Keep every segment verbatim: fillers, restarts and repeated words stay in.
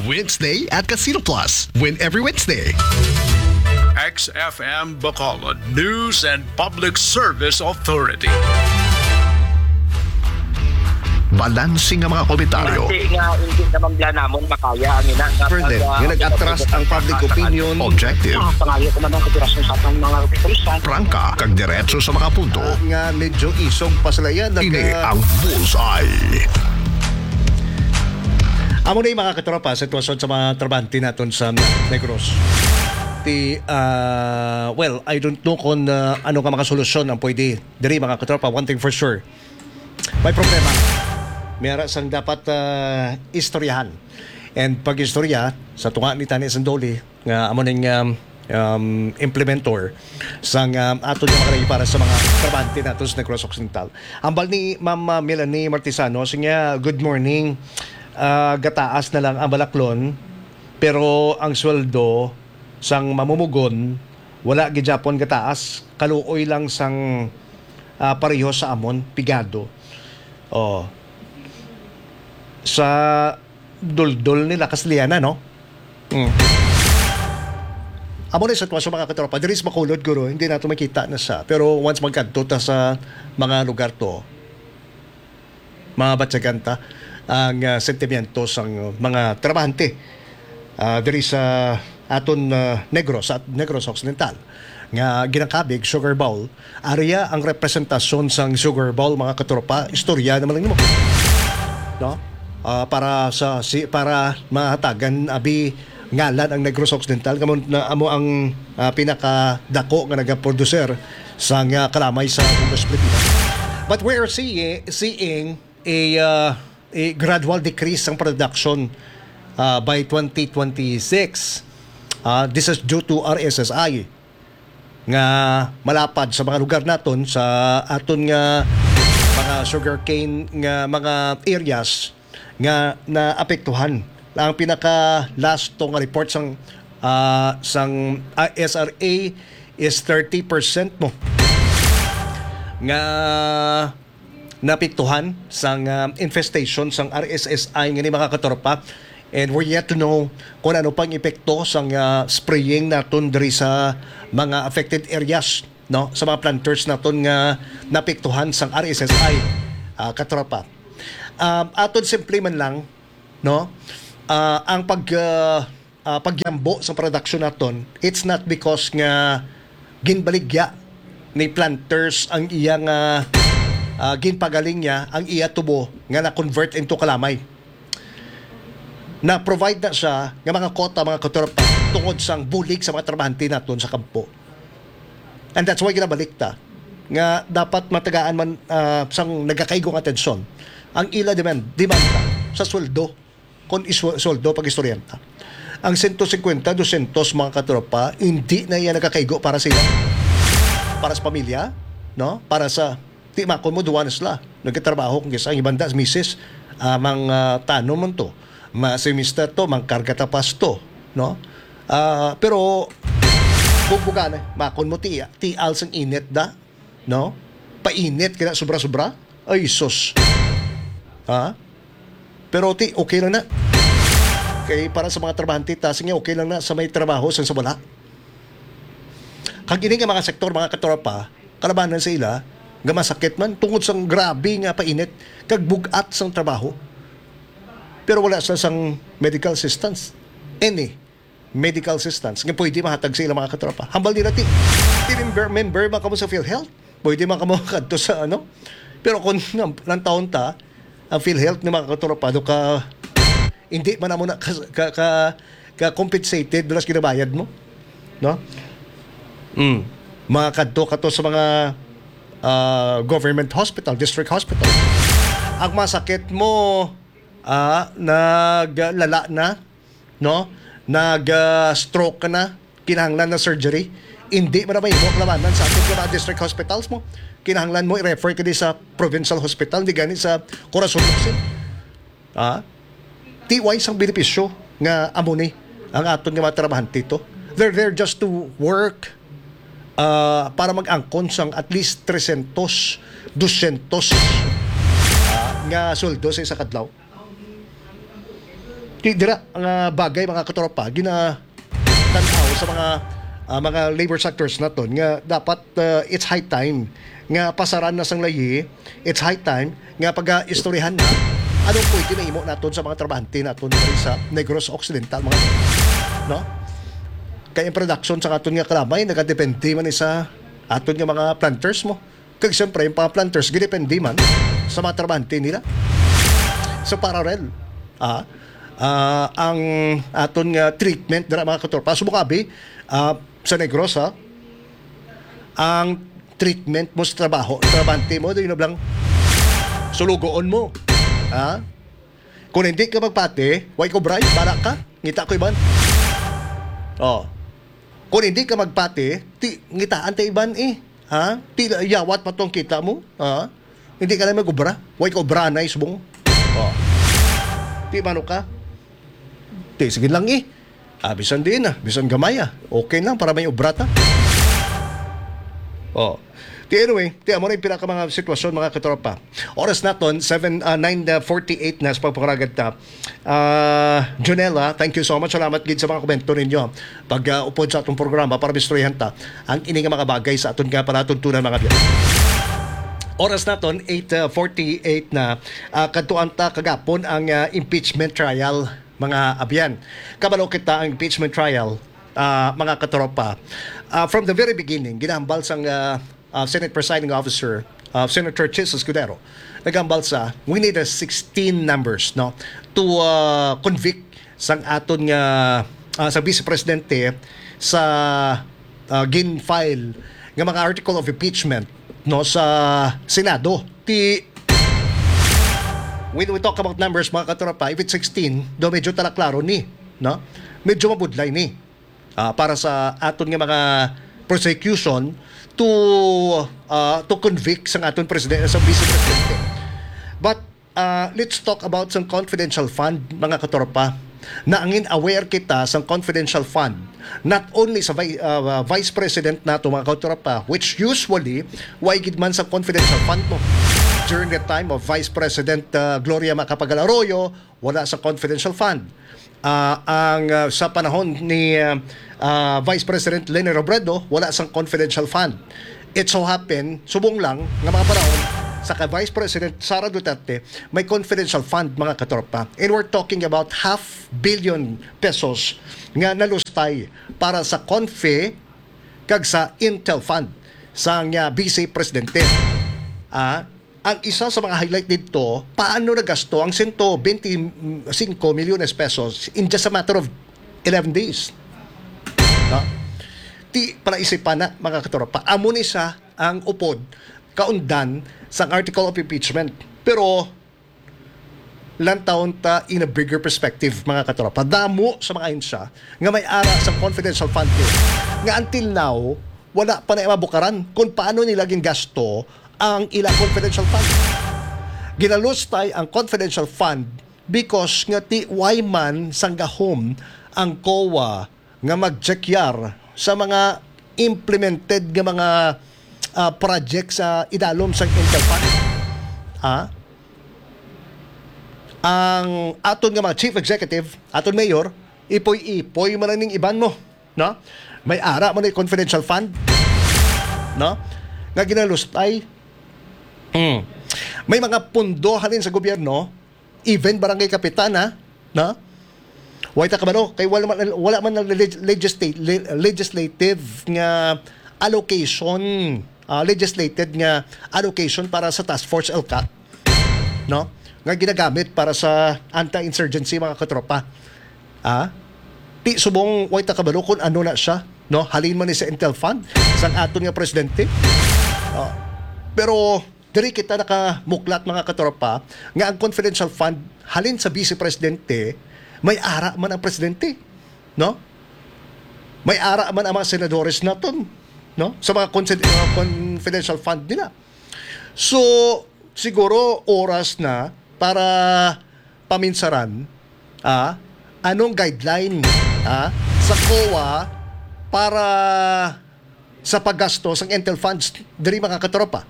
Wednesday at Casino Plus. Win every Wednesday. X F M Bacolod News and Public Service Authority. Balanse nga mga komentaryo. Base nga hindi naman bala namon makaya ang ina nga Further, pag, ah, nga nag-atras ang public opinion. Objective. Ah, pangayo ko man ang kooperasyon sa atong mga kapulisan. Prangka, kag diretso sa mga punto. Ah, nga medyo isog pa sila yan. Ini ang Bullseye. Amo na yung mga katropa, sitwasyon sa mga trabahante naton sa Negros. Ti, ah, well, I don't know kung, ah, ano nga mga solusyon ang pwede diri, mga katropa. One thing for sure, may problema. May ara sang dapat, ah, istoryahan. And pag-istorya, sa tunga ni Tani Sandoli, nga amo ning, um, um, implementor sang, um, aton nga mga para sa mga trabahante nato sa Negros Occidental. Ambal ni Ma'am, uh, Melanie Martisano, siya, "Good morning. Ah, gataas na lang ang balaklon, pero ang sweldo sang mamumugon wala gid gyapon gataas, kaluoy lang sang, ah, pareho sa amon, pigado." Oh. Sa duldol nila, Kasliana, no? Mm. Amo na yung sitwasyon, mga katropa. Diri sa Bacolod, guro, hindi nato makita na sa. Pero once magkadto ta sa mga lugar to, mga batyagan ta ang, ah, sentimiento sang mga trabahante, ah, diri sa aton, ah, Negros, sa Negros Occidental, nga ginakabig Sugar Bowl. Ari ang representasyon sang Sugar Bowl, mga katropa. Istorya naman lang nimo. No? Ah, para sa, si, para mahatagan abi ngalan ang Negros Occidental, kamo na amo ang, ah, pinakadako nga nagaproducer sang, ah, kalamay sa Negros, Pilipinas. But we are seeing, seeing a, ah, a gradual decrease sang production, ah, by twenty twenty-six. Ah, this is due to R S S I nga malapad sa mga lugar naton, sa aton nga mga sugarcane nga mga areas nga naapektuhan. Ang pinaka last to nga report sang, ah, sang, ah, S R A is thirty percent mo nga napiktuhan sang, ah, infestation sang R S S I nga ni, mga katropa. And we're yet to know kung ano pang epekto sang, ah, spraying naton diri sa mga affected areas, no, sa mga planters naton nga napiktuhan sang R S S I, ah, katropa. Um, aton simple man lang, no, ah, ang pag, ah, ah, pagyambo sa production naton, it's not because nga ginbaligya ni planters ang iya nga, ah, ginpagaling niya ang iya tubo nga na-convert into kalamay. Na-provide na siya nga mga quota, mga katropa, tungod sang bulig sa mga trabahante naton sa kampo. And that's why ginabalik ta nga dapat matagaan man, ah, sang nagakaigo nga atensyon ang ila demand, demanda sa sweldo. Kon iswa-, sweldo, pag-istoryahan ta, ang sento singkwenta, dosyentos, mga katropa, hindi na iya nagakaigo para sila, para sa pamilya, no? Para sa, ti makon mo, duwa na sila nagkatrabaho, kung kisa ang ibanda, misis, ah, mang, ah, tanom man to, ma, si mister to, mang karga tapas to, no? Ah, pero bugbuga na, makon mo, ti, tial sang init da, no? Painit kaya sobra-sobra. Ay, sus. Ha? Pero ti, okay lang na. Kay para sa mga trabahante, ta, sige, okay lang na sa may trabaho, sa, sa wala. Kag ini nga mga sektor, mga katropa, kalabanan sa ila, nga masakit man, tungod sang grabe nga painit, kag bugat sang trabaho. Pero wala sila sang medical assistance. Any medical assistance nga pwede mahatag sa ilang mga katropa. Hambal nila, ti, ti member, member man kamo sa PhilHealth. Pwede man kamo kadto sa, ano. Pero kung nang, nang taon ta, ang PhilHealth ni mga katropa, do ka, hindi man amo na ka, ka, ka, ka compensated, doon ginabayad mo. No? Mm. Mga kadto ka to sa mga, ah, government hospital, district hospital. Ang masakit mo, ah, naglala na, no? Nag, ah, stroke ka na, kinahanglan na surgery. Hindi mo na mahimo labanan sa atong mga district hospitals mo. Kinahanglan mo i-refer ka di sa provincial hospital, di gani sa Corazon Luksin. Ah? Ti way sang benepisyo nga amo ni ang aton nga mga trabahante to. They're there just to work, ah, para mag-angkon sang at least tresyentos, dosyentos, ah, nga sweldo sa isa ka adlaw. Ti dira nga bagay, mga katropa, gina-tan-aw sa mga, ah, mga labor sectors naton nga dapat, ah, it's high time nga pasaran na sang layi, it's high time nga pag-istoryahan na anong pwede mahimo naton sa mga trabahante naton diri sa Negros Occidental, mga, no? Kay ang production sa aton nga kalamay nagadepende man ni sa aton nga mga planters mo. Kag siyempre, ang mga planters gidepende man sa mga trabahante nila. Sa parallel, ah, ah, ang aton nga treatment dira, mga katropa, subong abi, ah, sa Negros, ha, ang treatment mo sa trabaho, trabahante mo, di na lang sulugoon mo. Ha? Kung hindi ka magpati, way ko bray, bala ka, ngita ko iban. Oh. Kung hindi ka magpati, ti, ngitaan ta iban eh. Ha? Ti, yawat pa tong kita mo. Ha? Hindi ka lang mag-obra. Way ka obra na isbong. Oh. Ti, mano ka? Ti, sige lang eh. Ah, bisan din ah, bisan gamay ah. Okay lang para may obra ta. Oh. Ti, anyway, ti, amo na yung pila ka mga sitwasyon, mga katropa. Oras naton, seven, ah, nine forty-eight na sa pagpakaragad ta. Ah, Jonella, thank you so much. Salamat gid sa mga komento ninyo. Pag, ah, upod sa atong programa para mistoryahan ta ang ini nga mga bagay sa aton nga palatuntunan, mga biyanan. Oras naton, eight forty-eight na. Ah, kadtuan ta kagapon ang, ah, impeachment trial, mga abyan. Kabalo kita ang impeachment trial, ah, mga katropa. Ah, from the very beginning, ginahambal sang, ah, ah, Senate Presiding Officer, ah, Senator Chiz Escudero, naghambal sa, we need a sixteen numbers, no, to, ah, convict sang aton nga, ah, sa Vice Presidente sa, ah, gin-file nga mga article of impeachment, no, sa Senado. Ti, when we talk about numbers, mga katropa, if it's sixteen, do medyo talaklaro ni, no? Medyo mabudlay ni, ah, para sa aton nga mga prosecution to, ah, to convict sang aton presidente, sa vice presidente. But, ah, let's talk about sang confidential fund, mga katropa. Naangin aware kita sang confidential fund, not only sa vi-, ah, vice president nato, mga katropa, which usually, way gid man sa confidential fund mo. During the time of Vice President, ah, Gloria Macapagal Arroyo, wala sa confidential fund. Ah, ang, ah, sa panahon ni, ah, ah, Vice President Leni Robredo, wala sang confidential fund. It so happen, subong lang nga mga panahon sa kay Vice President Sara Duterte, may confidential fund, mga katropa. And we're talking about half billion pesos nga nalustay para sa confi kag sa Intel Fund sang, ah, Vice Presidente. Ah, ang isa sa mga highlight didto, paano nagasto ang sento bente singko milyones pesos in just a matter of eleven days. No? Ti, palaisipan na, mga katropa. Amo ni sa ang upod, kaundan sang article of impeachment. Pero, lantawon ta in a bigger perspective, mga katropa. Damo sa mga ahensya nga may ara sa confidential fund bill nga until now, wala pa na mabukaran kung paano nila gingasto ang ila confidential fund. Ginalustay ang confidential fund because nga ti way man sang gahom ang COA nga magtsekyar sa mga implemented nga mga, ah, project sa idalom sang Intel Fund. Ah? Ang aton nga mga chief executive, aton mayor, ipoy-ipoy man ning iban mo, no? May ara man ni confidential fund, no? Nga ginalustay. Mm. May mga pundo halin sa gobyerno, even barangay kapitana, no? Way ta kabalo, kay wala man, wala man ang leg-, legisla-, le-, legislative nga allocation, ah, legislated nga allocation para sa Task Force ELCAC, no? Nga ginagamit para sa anti-insurgency, mga katropa. Ah? Ti subong way ta kabalo kung ano na siya, no? Halin man ni sa Intel Fund, sang aton nga presidente. Ah, pero diri kita nakamuklat, mga katropa, nga ang confidential fund halin sa Vice Presidente, may ara man ang presidente, no? May ara man ang mga senadores naton, no? Sa mga consid-, mga confidential fund nila. So, siguro oras na para paminsaran, ah, anong guideline, ah, sa COA para sa paggasto sang Intel funds diri, mga katropa,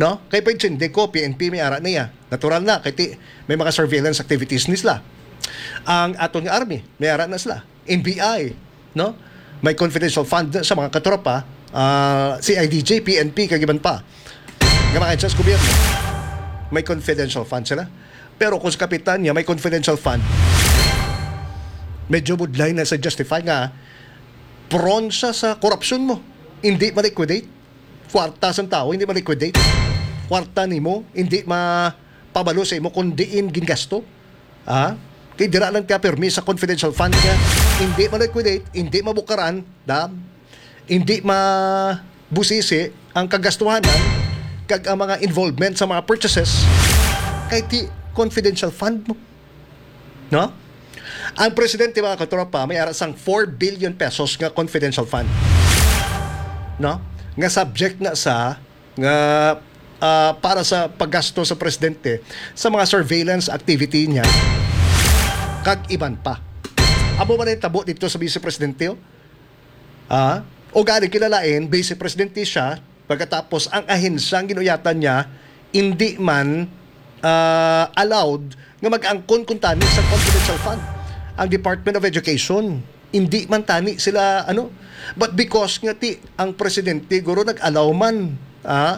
no? Kay pwede hindi ko, P N P may ara niya. Natural na, kay ti-, may mga surveillance activities ni sila. Ang aton nga army, may ara na sila. N B I, no? May confidential fund sa mga katropa, ah, C I D G, P N P, kag iban pa. Nga mga ahensya sa gobyerno, may confidential fund sila. Pero kung sa kapitanya may confidential fund, medyo budlay na sa justify nga prone siya sa korupsyon mo. Hindi ma-liquidate. Kwarta sang tao, hindi ma-liquidate. Kwarta nimo, hindi mapabalo sa imo kung diin gingasto. Ah? Kay dira lang ka pirmi sa confidential fund nga hindi ma-liquidate, hindi mabukaran, da? Hindi mabusisi ang kagastuhanan kag ang mga involvement sa mga purchases kay ti confidential fund mo. No? Ang presidente, mga katropa, may ara sang four billion pesos nga confidential fund. No? Nga subject na sa, nga, ah, para sa paggasto sa presidente sa mga surveillance activity niya kag iban pa. Amo man ang tabo dito sa vice presidente, oh. Ah, o gani kilalain, vice presidente siya, pagkatapos ang ahensya ang ginuyatan niya, hindi man, ah, allowed nga mag-angkon kung tani sa confidential fund. Ang Department of Education, hindi man tani sila, ano, but because nga ti, ang presidente, guro, nag-allow man, ah,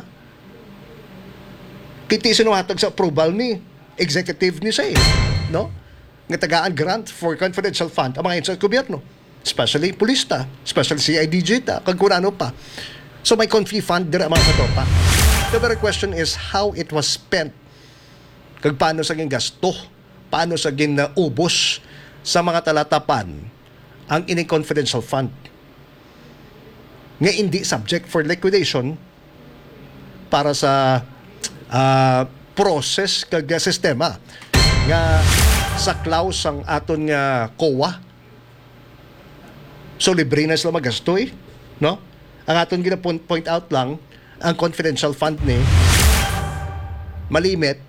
kiti sinuhatag sa approval ni executive ni siya, eh, no? Nga tagaan grant for confidential fund ang mga ahensya sa gobyerno, especially pulista, especially C I D G ta, kag kung ano pa. So may confi fund dira, mga katropa. The very question is how it was spent. Kag paano sa gingasto? Paano sa ginaubos sa mga talatapan ang ining confidential fund nga hindi subject for liquidation para sa, ah, process kag sistema nga saklaw sang aton nga COA. So, libre na sila magastoy, no? Ang aton gina-point out lang, ang confidential fund ni malimit,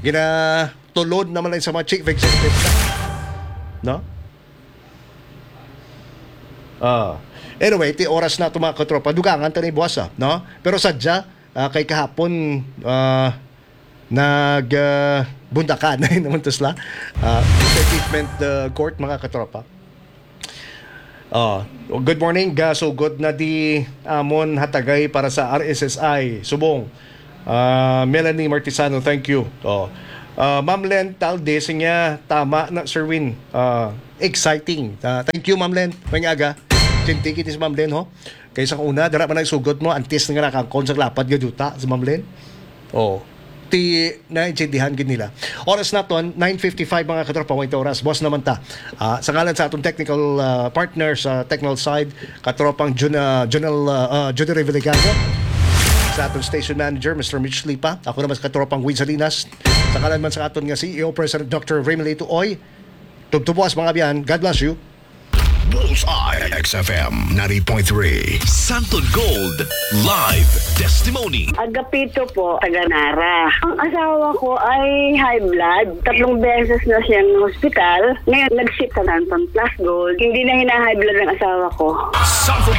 ginatulod naman lang sa mga chief executive, no? Ah. Anyway, ti oras na to, mga katropa. Dugangan ta ni buwas, ah, no? Pero sadya, ah, kay kahapon, ah, nag, ah, bundakan naman to sila. Ah, sa impeachment, ah, court, mga katropa. Ah, good morning. Gasugod na di amon hatagay para sa R S S I Subong. Ah, Melanie Martisano, thank you. Oh. Ah, Ma'am Len Talde, sinya, tama na, Sir Win. Ah, exciting. Ah, thank you, Ma'am Len. May aga. Chinti kini si Ma'am Len, ho? Kaysa kung una, dara man ang sugot mo, antes nga nakangkon sa lapad nga duta si Ma'am Len. Oh. Ti, naintindihan gid nila. Oras naton, nine fifty-five, mga katropa, mo ito oras. Boss naman ta. Ah, sa ngalan sa atong technical, ah, partner sa technical side, katropang Jun-, ah, Junel, ah, ah, Judy Reviligaño, sa atong station manager, Mister Mitch Lipa, ako naman sa katropang Win Salinas, sa ngalan man sa aton nga C E O, President Doctor Remilito Oy, tubtubos, mga biyan. God bless you. Bullseye X F M ninety point three. Santon Gold Live Testimony. Agapito po, taga Nara. Ang asawa ko ay high blood. Tatlong beses na siyang hospital. Ngayon, nag-sit sa Santon Plus Gold. Hindi na hina-high blood ang asawa ko. Santon